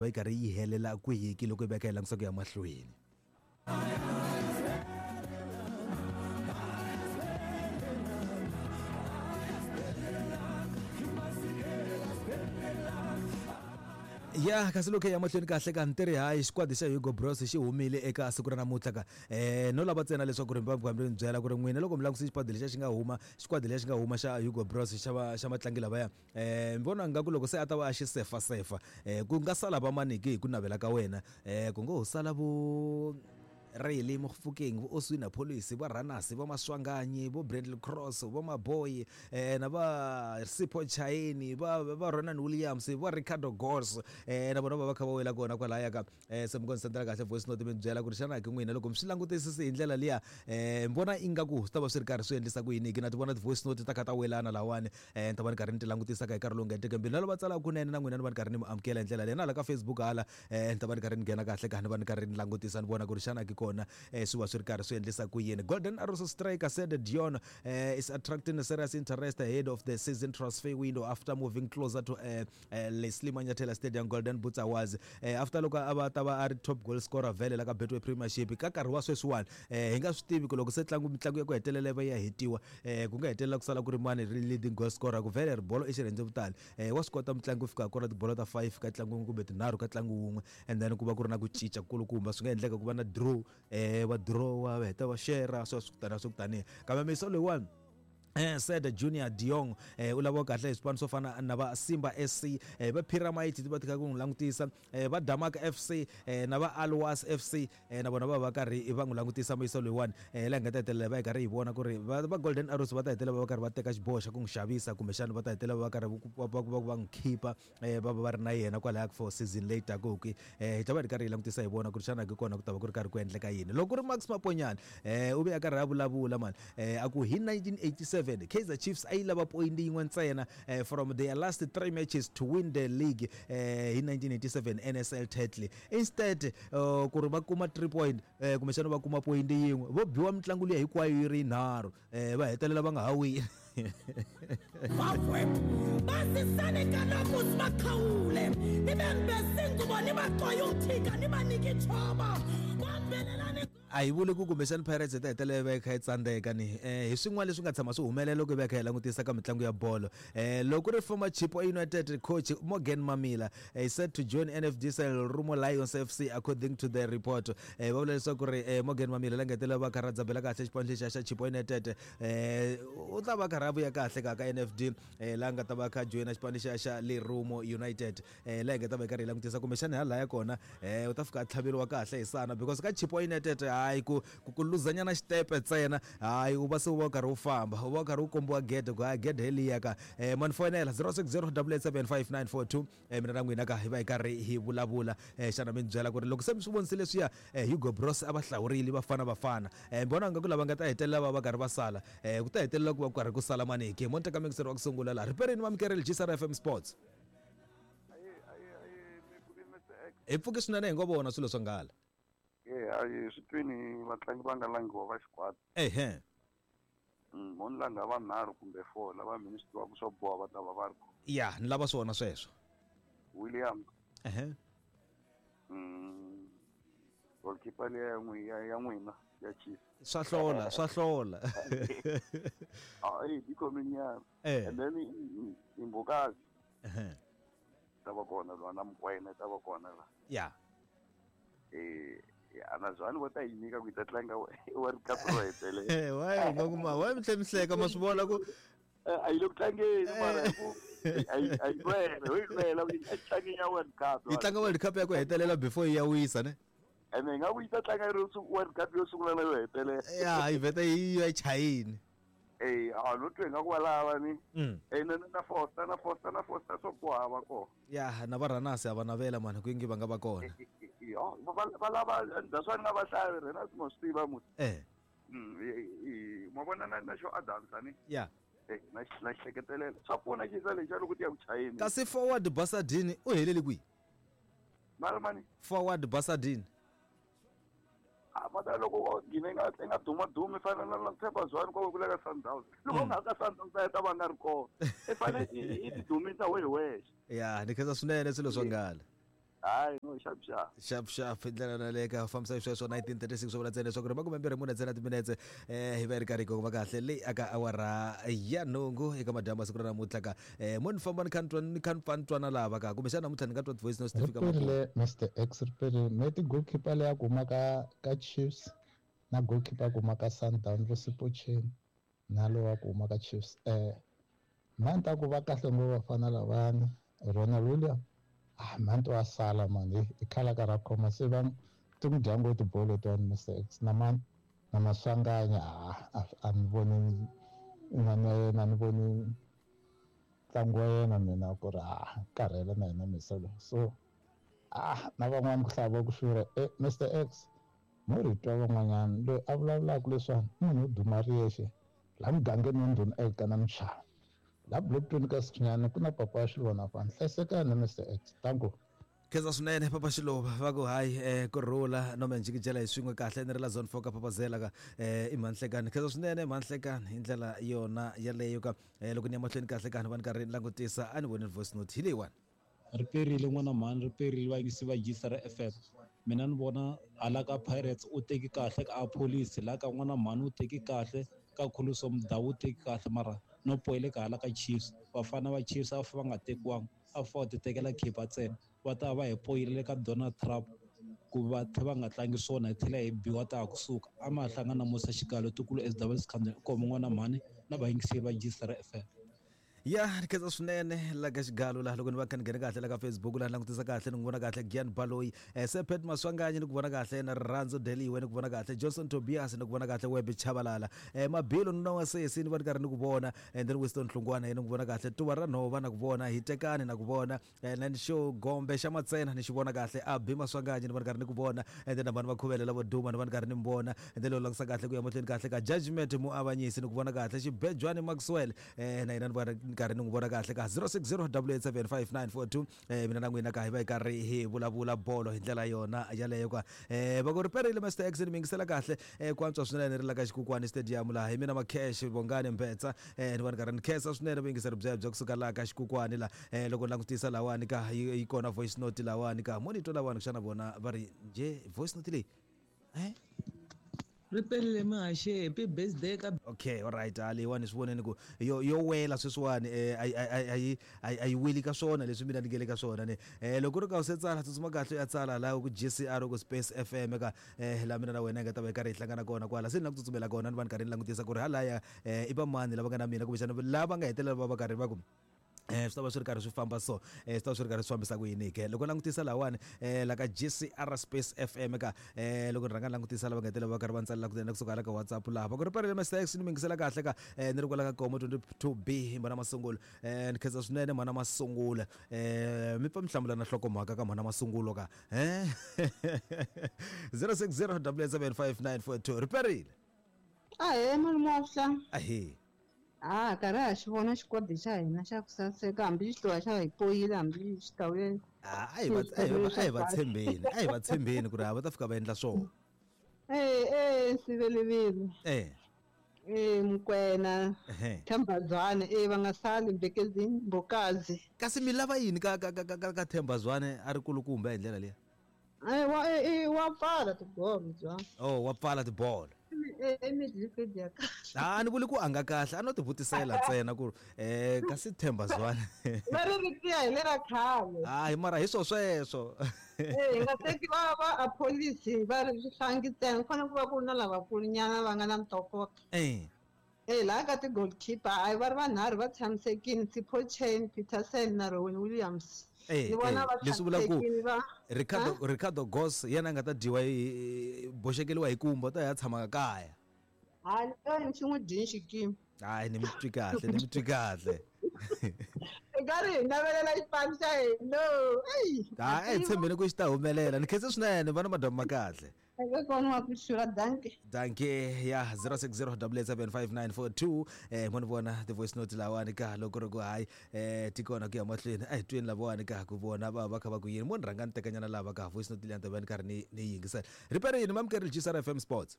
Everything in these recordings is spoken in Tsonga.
Va yi karhi yi helela kwihiki loko hi va hi kha hi langutisa ku ya mahlweni. Ya kasi loko hi ya mahlweni kahle ka ntirhi hayi xikwadi xa Hugo Broos xi humile eka siku ra namuntlha ka no lava ntsena leswaku ri mi mi byela ku ri n'wina loko mi langutise xikwadi lexiya xi nga huma xikwadi lexiya xi nga huma xa Hugo Broos xa va xa vatlangi lavaya Ni vona ingaku loko se a ta va a xi sefasefa ku nga sala va maniki hi ku navela ka wena ku ngo ho sala vo Rayleigh Mofokeng, vo Oswin Appollis, va Ranas, va Maswanganyi, vo Bradley Cross, vo Maboy na va Sipho Chaine, va Ronan Williams, va Ricardo Goss na vona va va kha va wela kona kwalaya ka Se mi ngo ni sendela kahle voice note mi ni byela ku ri xana ke n'wina loko mi swi langutisisi hi ndlela liya mi vona ingaku swi ta va swi ri karhi swi endlisa ku yini ke na ti vona ti-voice note ta kha ta welana lahawani ni ta va ni karhi ni ti langutisa ka hi nkarhi lowu nga heteke mbilu na lava tsalaka kunene na n'wina ni va ni karhi ni mi amukela hi ndlela leyi na hala ka Facebook hala ni ta va ni karhi ni nghena kahle ka ni va ni karhi ni langutisa ni vona ku ri xana ke kona swi va swi ri karhi swi endlisa ku yini. Golden Arrows striker Sede Dion is attracting serious interest ahead of the season transfer window after moving closer to Leslie Manyathela Stadium Golden Boots Awards after loko a va ta va a ri top goal scorer vhele la ka Betway Premiership ka nkarhi wa sweswiwani hi nga swi tivi ku loko se tlangu mitlangu ya ku hetelela yi va ya hetiwa ku nga hetelela ku sala ku ri mani ri leading goal scorer ku vhele ri bolo i xirhendzevutani wa swi kota mutlangi ku fika kora tibolo ta 5 ka ntlangu wun'we kumbe tinharhu ka ntlangu wun'we and then ku va ku ri na ku cinca kulukumba swi nga endleka ku va na draw va draw va heta va share sweswo taniya swa ku taniya kambe miso loyiwani Said Junior Diong u laviwa kahle hi swipano swo fana na va Simba SC va Pyramids ti va ti kha ku n'wi langutisa va Damak FC na va Al Wasl FC na vona va va karhi va n'wi langutisa muyisa loyiwani laha hi nga ta hetelela va hi karhi hi vona ku ri va va Golden Arrows va ta hetelela va va karhi va teka xiboho xa ku n'wi xavisa kumbexana va ta hetelela va karhi va n'wi khipa va va va ri na yena kwalaya for season leyi taka hi hi ta va hi ri karhi hi langutisa hi vona ku ri xana ke kona ku ta va ku ri karhi ku endleka yini. Loko ku ri Max Maponyane u ve a karhi a vulavula mani a ku hi 1987 Kaizer Chiefs a yi lava poyinti yin'we ntsena from their last three matches to win the league hi 1987 N_S_L title instead ku ri va kuma three point kumbexana va kuma poyinti yin'we vo biwa mitlangu liya hinkwayo yi ri yinharhu va hetelela va nga ha wini. Bazisani kaloku sibakhawule nibembese ingubo nibaxwaye umthika nibanike itshoba bambelelani. A hi vuli ku kumbexani Pirates yi ta hetelela yi va yi kha yi tsandzeka ni hi swin'wana leswi nga tshama swi humelela loko hi va hi kha hi langutisa ka mitlangu ya bolo. Loko ku ri former Chippa United coach Morgan Mamila is set to join NFD Lerumo Lions FC according to the report. Va vula leswaku ri Morgan Mamila la nga hetelela va kha ra dzabela kahle xipano lexiya xa Chippa United u ta va karhi a vuya kahle ka ka NFD laha nga ta va kha joyina xipano lexiya xa Lerumo United laha hi nga ta va hi karhi hi langutisa kumbexana hi halaya kona u ta fika a tlhaveriwa kahle hi sana because ka Chippa United hayi ku ku ku luzanyana xitepe ntsena hayi u va se u va u karhi u famba u va u karhi u kombiwa gede ku hayi gede hi liya ka ma ni foyinela 060 887 5942 Mina na n'wina ka hi va hi karhi hi vulavula. Xana mi ni byela ku ri loko se mi swi vonisile leswiya Hugo Broos a va hlawurile Bafana Bafana, mi vona ingaku lava nga ta hetelela va va karhi va sala ku ta hetelela ku va ku karhi ku sala mani ke? Mo ni teka muyingiseri wa ku sungula laha. Riperini Mamkereli, GCR FM Sports. Hi pfuke swinene hi ngo vona swilo swa nghala. Eya, hi swi twini vatlangi va nga langiwa va xikwadi. Ehe. Mo ni langha vanharhu kumbe four lava mina ni swi tivaka swo boha va ta va va ri kona. Ya, ni lava swona sweswo. Williams. Ehe. Goalkeeper liya ya n'wi ya ya n'wina ya Chiefs. Swa hlola, swa hlola. Ah, eh, yi khominyana. Eh. And then Mbokazi. Ehe. Ta va kona lwa na Mokoena ta va kona la. Ya. Eh, ya na Zwane va ta yi nyika ku yi ta tlanga World Cup ro hetelela. Eh, why u nga kuma why mi tlhe mi hleka ma swi vona ku A yi le ku tlangeni mara hi ku a yi a yi lwela ho yi lwela ku yi tlangeni ya World Cup. Yi tlanga World Cup ya ku hetelela before yi ya wisa ne. Ene hi nga ku yi ta tlanga yi ri World Cup yo sungula na yo hetelela. Ya yi vheta yi ya chayini. Eh, a no twe nga ku va lava ni. Eh, na na Foster na Foster na Foster swo ku hava kona. Ya na va Ranasi a va navela mani ku ingi va nga va kona. Yo, va va lava that's why ni nga va hlayi Ranasi mo swi tiva musi. Eh. Ma vona na na xo Adams ani. Ya. Eh, na na xihleketelela. Swa pfuna xisa lexi loko ti ya ku chayeni. Kasi forward Basadini u helele kwihi? Mara mani? Forward Basadini. A va ta loko o gine nga nga duma dumi fana na na Themba Zwane kwa kula ka Sundowns. Loko nga ka Sundowns a ta va nga ri kona. I fane i ti dumisa we hi wexe. Ya, ni khensa swinene swilo swa nghala. Hayi no xap xap. Xap xap hi ndlela yona leyi ka fambisa hi sweswo 1936 swo vula ntsena leswaku ri 24 ntsena timinetse hi va yi ri karhi yi kongoma kahle leyi aka awara ya nhungu eka madyambu ya siku ra namuntlha ka mo ni famba ni kha ni twa ni kha ni pfa ni twana lava ka kumbexana namuntlha ni nga twa ti-voice notes ti fika makumu. Riperile Mr X riperile me ti goalkeeper leya ku huma ka ka Chiefs na goalkeeper ya ku huma ka Sundown vo Sipho Chaine na lowa ku huma ka Chiefs mhani ni ta ku va kahle ngopfu vafana lavayani Ronald William ah mhani to wa sala mani i khala ka ra khoma se va ti n'wi dya ngopfu tibolo letiwani Mr X na mani na Maswanganyi ah a ni voni inani ya yena a ni voni ntlangu wa yena mina ku ri ah karhele na yena misa loyi so ah na van'wani ku hlaya va ku xurha Mr X mo ri twa van'wanyana loyi a vulavulaka leswiwani i munhu wo duma ri yexe laha mugangeni wa Ndhuna Elkana Mchava laha Blockton ka Sikhinyana ku na papa wa Xiluvana fana hlayisekani Mr X danko. Khensa swinene papa Xiluva va ku hayi ku rhula no me njikijela hi swin'we kahle ni ri la zone 4 ka papazela ka i mhanhlekani khensa swinene mhanhlekani hi ndlela yona yaleyo ka loko ni ya mahlweni kahle ka ni va ni karhi ni langutisa a ni voni voice note hi leyiwani. Ri perile n'wana mhani ri perile vayingisi va Gisere FM mina ni vona hala ka Pirates u teki kahle ka Appollis la ka n'wana mhani u teki kahle ka Khuluso Mudau u teki kahle mara no poyile ka hala ka Chiefs vafana va Chiefs a va nga tekiwanga a va ti tekela khipa ntsena va ta va hi poyile ka Donald Trump ku va tlhe va nga tlangi swona hi tlhela hi biwa ta ha kusuka a ma hlangana na Musa Xigalo tikulu SW Sikhandeni u komi n'wana mhani na vayingiseri va Gisere FM. Ya ni khensa swinene la ka xigalo laha loko ni va kha ni nghene kahle la ka Facebook laha ni langutisa kahle ni n'wi vona kahle Gian Baloyi Sephet Maswanganyi ni ku vona kahle na Rirhandzu Deliwe ni ku vona kahle Johnson Tobias ni ku vona kahle Web Chabalala Mabilo nuna wa sesi ni va ni karhi ni ku vona and then Winston Hlungwana ni ku vona kahle Tuva ra Nhova na ku vona Hitekani na ku vona na ni xo Gombe xa Matsena ni xi vona kahle Abi Maswanganyi ni va ni karhi ni ku vona and then na vanhu va Khuvele lavo duma ni va ni karhi ni mi vona and then loko langutisa kahle ku ya mahlweni kahle ka Judgment Muavanyisi ni ku vona kahle Xibejwani Maxwell na yena ni va ni karhi ni n'wi vona kahle ka 060 887 5942 mina na n'wina ka hi va hi karhi hi vulavula bolo hi ndlela yona yaleyo ka va ku ri perile Mr X ni mi yingisela kahle ku antswa swinene ri la ka Xikukwani Stadium laha hi mina Makhesh Bongani Mbetsa ni va ni karhi ni khensa swinene vuyingiseri byebyo kusuka laha ka Xikukwani la loko ni langutisa lawani ka yi kona voice note lawani ka mo ni twa lawani xana vona va ri njhe voice note leyi Ri perile mihaxi happy birthday ka. Okay alright ha leyiwani swi voneni ku yo yo wela sweswiwani a yi a yi weli ka swona leswi mina ni nge le ka swona ne loko ku ri ka u se tsala tsutsuma kahle u ya tsala laha ku G_C_R ku Space F_M ka laha mina na wena hi nga ta va hi karhi hi hlangana kona kwala se ni la ku tsutsumela kona ni va ni karhi ni langutisa ku ri halaya i va mani lava nga na mina kumbexana lava nga hetelela va va karhi va ku swi ta va swi ri karhi swi famba so swi ta va swi ri karhi swi fambisa ku yini ke loko langutisa lahawani la ka G_C_R Space F_M ka loko ni rhanga ni langutisa lava nga hetelela va karhi va ni tsalela kunene kusuka hala ka WhatsApp laha va ku ri perile Mister X ni mi yingisela kahle ka ni ri kwala ka Komo 22 B mhana Masungulo ni khensa swinene mhana Masungulo mi pfa mi hlamula na nhlokomhaka ka mhana Masungulo ka 060 887 5942 ri perile. Ahee malume wa vuhlalu. Ahee. Ha karhi ha xi vona xikwadi xa hina xa ku saseka hambi xi tluwa xa hi poyila hambi xi ta vuya a hi va a hi va a hi va tshembeni a hi va tshembeni ku ri va ta fika va endla swona. Eh eh sivelivile. Eh. Eh Mukwena. Themba Zwane eh va nga sali Mbekezini Mbokazi. Kasi mi lava yini ka ka ka ka ka Themba Zwane a ri kulukumba hi ndlela liya? Eh wa eh wa pfala tibolo bya. Oh wa pfala tibolo. Eh midfield ya kahle. Ah ni vuli ku a nga kahle a no ti vutisela ntsena ku kasi Themba Zwane. Va ri ri tiya hi lera khale. Hayi mara hi swo sweswo. Eh hi nga teki va va Appollis va ri swihlangi ntsena ku fanele ku va ku ri na lavakulu nyana va nga na ntokoto. Eh. Eh laha ka ti-goalkeeper hayi va ri vanharhu va tshamisekile Sipho Chaine, Petersen na Rowan Williams. Eh, Ni vona eh, va leswi vulaka ku tshamisekile va Ricardo Ha? Ricardo Goss yena a nga ta dyiwa hi boxekeliwa hi kumba u ta ya tshama kaya. Hayi leyo xi n'wi dyini xikimi. Hayi ni mi twi kahle ni mi twi kahle. Hi karhi hi navelela xipano xa hina. Eyi. Hayi a hi tshembeni ku xi ta humelela ni khense swinene va na madyambu ma kahle. Eka kona wa ku xurha dankie. Dankie ya 060 8875942 mo ni vona ti-voice note lawani ka loko ri ku hayi ti kona ku ya mahlweni a hi tweni lavawani ka ku vona va va kha va ku yini mo ni rhanga ni tekanyana lava ka voice note liya ni ta va ni karhi ni ni yingisela riperini mamukeri G_C_R F_M Sports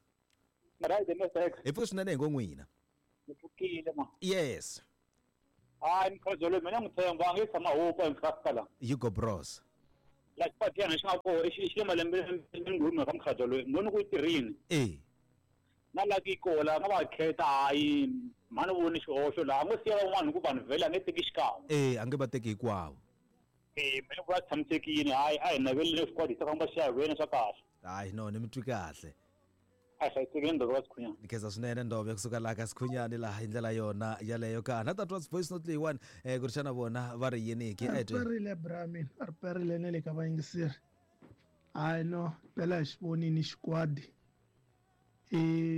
Right, Mr. X. hi pfuke swinene hi ngo n'wina Ni pfukile ma. Yes. Hayi mkhozo loyi mina n'wi tshemba a nge tshama hupa hi nkarhi la. Hugo Broos. La xikwadi xi nga koho i xi le malembe nghume ka mukhalabye loyi ni vone ku yi tirhini. Na la ki koho la nga va khetha hayi mhani voni xihoxo laha a ngo siya van'wana hi ku vanhu vhele a nge teki xikan'we. A nge va teki hinkwavo. Mina vula tshamisekile hayi a hi navelile xikwadi hi ta famba xi ya wena swa kahle. Hayi no ni mi twi kahle. A hlayisekile Ndove wa Sikhunyani. Ni khensa swinene Ndove kusuka laha ka Sikhunyani laha hi ndlela yona yaleyo ka na tatwa voice note leyiwani ku ri xana vona va ri yini ke. A ri perile bra mina, a ri perile na le ka vayingiseri. Hayi no phela hi xi vonini xikwadi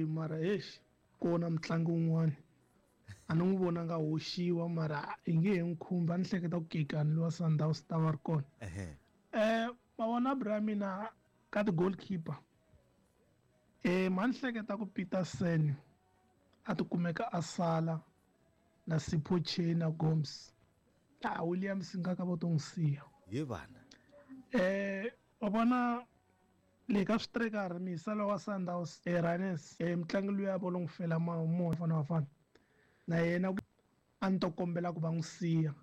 mara exi kona mutlangi wun'wani a ni n'wi vonanga hoxiwa mara hi nge he n'wi khumbi a ni hleketa ku Kekani lowa Sundowns ta va ri kona. Ma vona bra mina ka ti-goalkeeper ma ni hleketa ku Petersen a ti kumeka a sala na Sipho Chaine na Gomes. Williams nga ka va to n'wi siya. Ye vana. Wa vona le ka switrikara miyiselo wa Sundowns Ranes mutlangi luya vo lo n'wi fela moya fana Bafana na yena a ni to kombela ku va n'wi siya.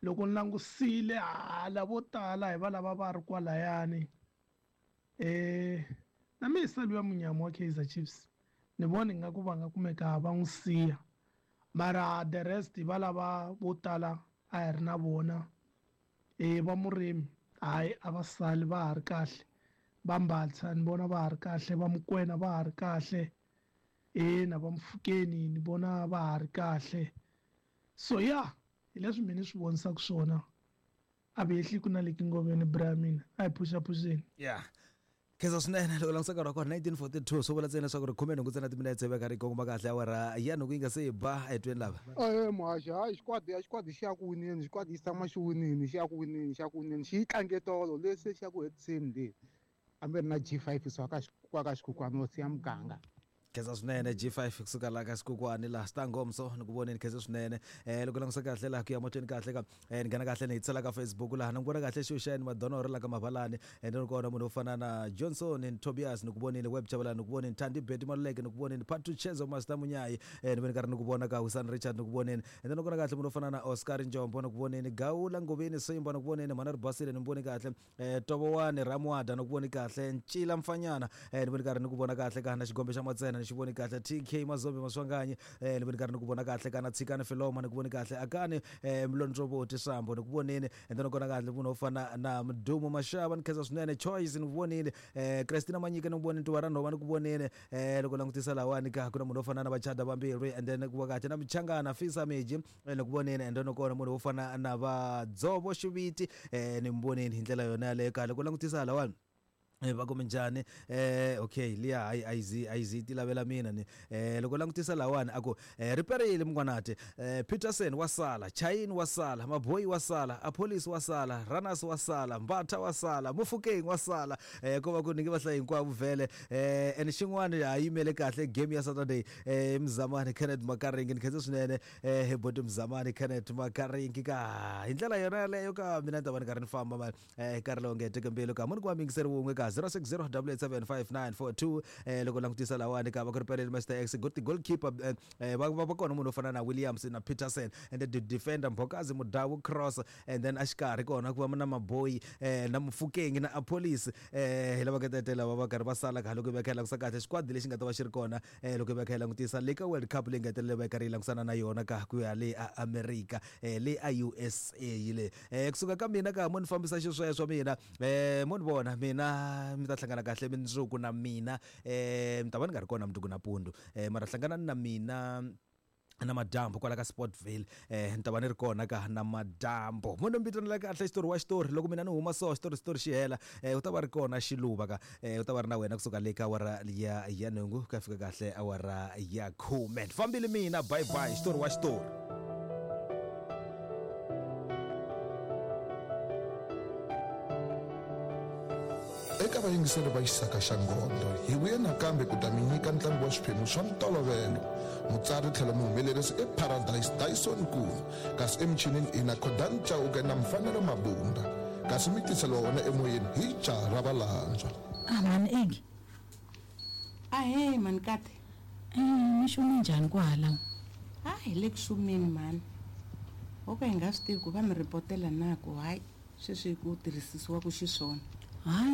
Loko ni langusile hala vo tala hi va lava va ri kwalayani na miyiselo ya munyama wa Kaizer Chiefs ni vona ingaku va nga kumeka va n'wi siya mara the rest va lava vo tala a hi ri na vona va Murimi hayi a va sali va ha ri kahle va Mbatha ni vona va ha ri kahle va Mukwena va ha ri kahle na va Mfukeni ni vona va ha ri kahle. So ya hi leswi mina ni swi vonisaka swona a vi hehli ku na le kingoveni bra mina a hi phuxaphuxeni. Yeah. Khensa swinene loko langutisa nkarhi wa kona 1942 swi vula ntsena leswaku ri khume nhungu ntsena timinetse va karhi yi kongoma kahle awara ya nhungu yi nga se ba etweni lava. Muhaxi hayi xikwadi a xikwadi xi ya ku wineni xikwadi xi tshama xi winini xi ya ku wineni xi ya ku wineni xi yi tlange tolo leswi xi ya ku hetiseni le hambi ri na G5 swa ka ka xikhukhwani wo siya muganga. Khensa swinene G5 kusuka laha ka xikhukhwani laha Sitangomso ni ku voneni khensa swinene loko langutisa kahle laha ku ya mahlweni kahle ka ni nghena kahle ni hi tsala ka Facebook laha ni ku vona kahle Xuxeni Madonoro la ka Mavalani ni ri kona munhu wo fana na Johnson ni Tobias ni ku vonile Web Chabalala ni ku vonile Thandi Betty Maluleke ni ku vonile Patu Chezo Master Munyayi ni vone karhi ni ku vona ka Husani Richard ni ku vonile and then kona kahle munhu wo fana na Oscar Njombo ni ku vonile Gawula Ngoveni Simba ni ku vonile Mhana Ribasile ni voni kahle Tovowani Ramwada ni ku voni kahle Ncila Mfanyana ni voni karhi ni ku vona kahle ka na Xigombe xa Matsena ni xi voni kahle TK Mazombe Maswanganyi ni voni karhi ni ku vona kahle ka na Tshikani Filoma ni ku voni kahle Akani Mlondlovoti Sambo ni ku vonile and then kona kahle munhu wo fana na Mdumo Mashava ni khensa swinene Choice ni ku vonile Christina Manyika ni ku vonile Tuva ra Nhova ni ku vonile loko langutisa lawani ka ku na munhu wo fana na Vachada Vambirhi and then ku va kahle na Michangana Fisa Meji ni ku voneni and then kona munhu wo fana na Vadzovo Xiviti ni mi voneni hi ndlela yona yaleyo kahle ku langutisa lawani va ku minjhani okay liya hayi a yi zi ti lavela mina ni loko langutisa lawani a ku riperile mungwanati Peterson wa sala Chaine wa sala Maboyi wa sala Appollis wa sala Ranas wa sala Mbatha wa sala Mofokeng wa sala ko va ku ni nge va hlayi hinkwavo vhele and xin'wana ha yimele kahle game ya Saturday Mzamani Kenneth Makaringi ni khensa swinene hi boti Mzamani Kenneth Makaringi ka hi ndlela yona yaleyo ka mina ni ta va ni karhi ni famba mani nkarhi lowu nge teke mbilu ka muni ku va miyingiseri wun'we ka 060 8875942 loko langutisa lawani ka va ku ri pelele Mr X good goalkeeper va kona munhu wo fana na Williams na Peterson and the defender Mbokazi Mudawu Cross and then axikarhi kona ku va na Maboyi na Mofokeng na Appollis hi lava ka tete lava va karhi va sala ka loko va kha langutisa kahle xikwadi lexi nga ta va xi ri kona loko va kha hi langutisa le ka World Cup leyi nga hetelela va karhi yi langusana na yona ka ku ya le a America le a USA yi le kusuka ka mina ka mo ni fambisa xisweswo mina mo ni vona mina mi ta hlangana kahle mundzuku na mina mi ta va ni nga ri kona mundzuku nampundzu mara hlanganani na mina na madyambu kwala ka Sportville ni ta va ni ri kona ka na madyambu mo ni mi vitanela kahle xitori wa xitori loko mina ni huma so xitori xitori xi hela u ta va ri kona xiluva ka u ta va ri na wena kusuka le ka awara ya nhungu ku ya fika kahle awara ya khume ni fambile mina bye bye xitori wa xitori. Eka vayingiseri va Xisaka xa Nghondo, hi vuye nakambe ku ta mi nyika ntlangu wa swiphemu swa ntolovelo. Mutsari tlhelo muhumelerisi i Paradise Dyson Nkuna, kasi emichinini i na Khodani Chauke na Mfanelo Mabunda, kasi mi tiseliwa wona emoyeni hi Jaha ra Valandzwa. Ah mhani Ingi. Ahee mhani Kate. Mi xume njhani kwahala? A hi le ku xumeni mhani. Ho ka hi nga swi tivi ku va mi ripotela na ku hayi. Sweswi ku tirhisisiwaka xiswona. Hayi.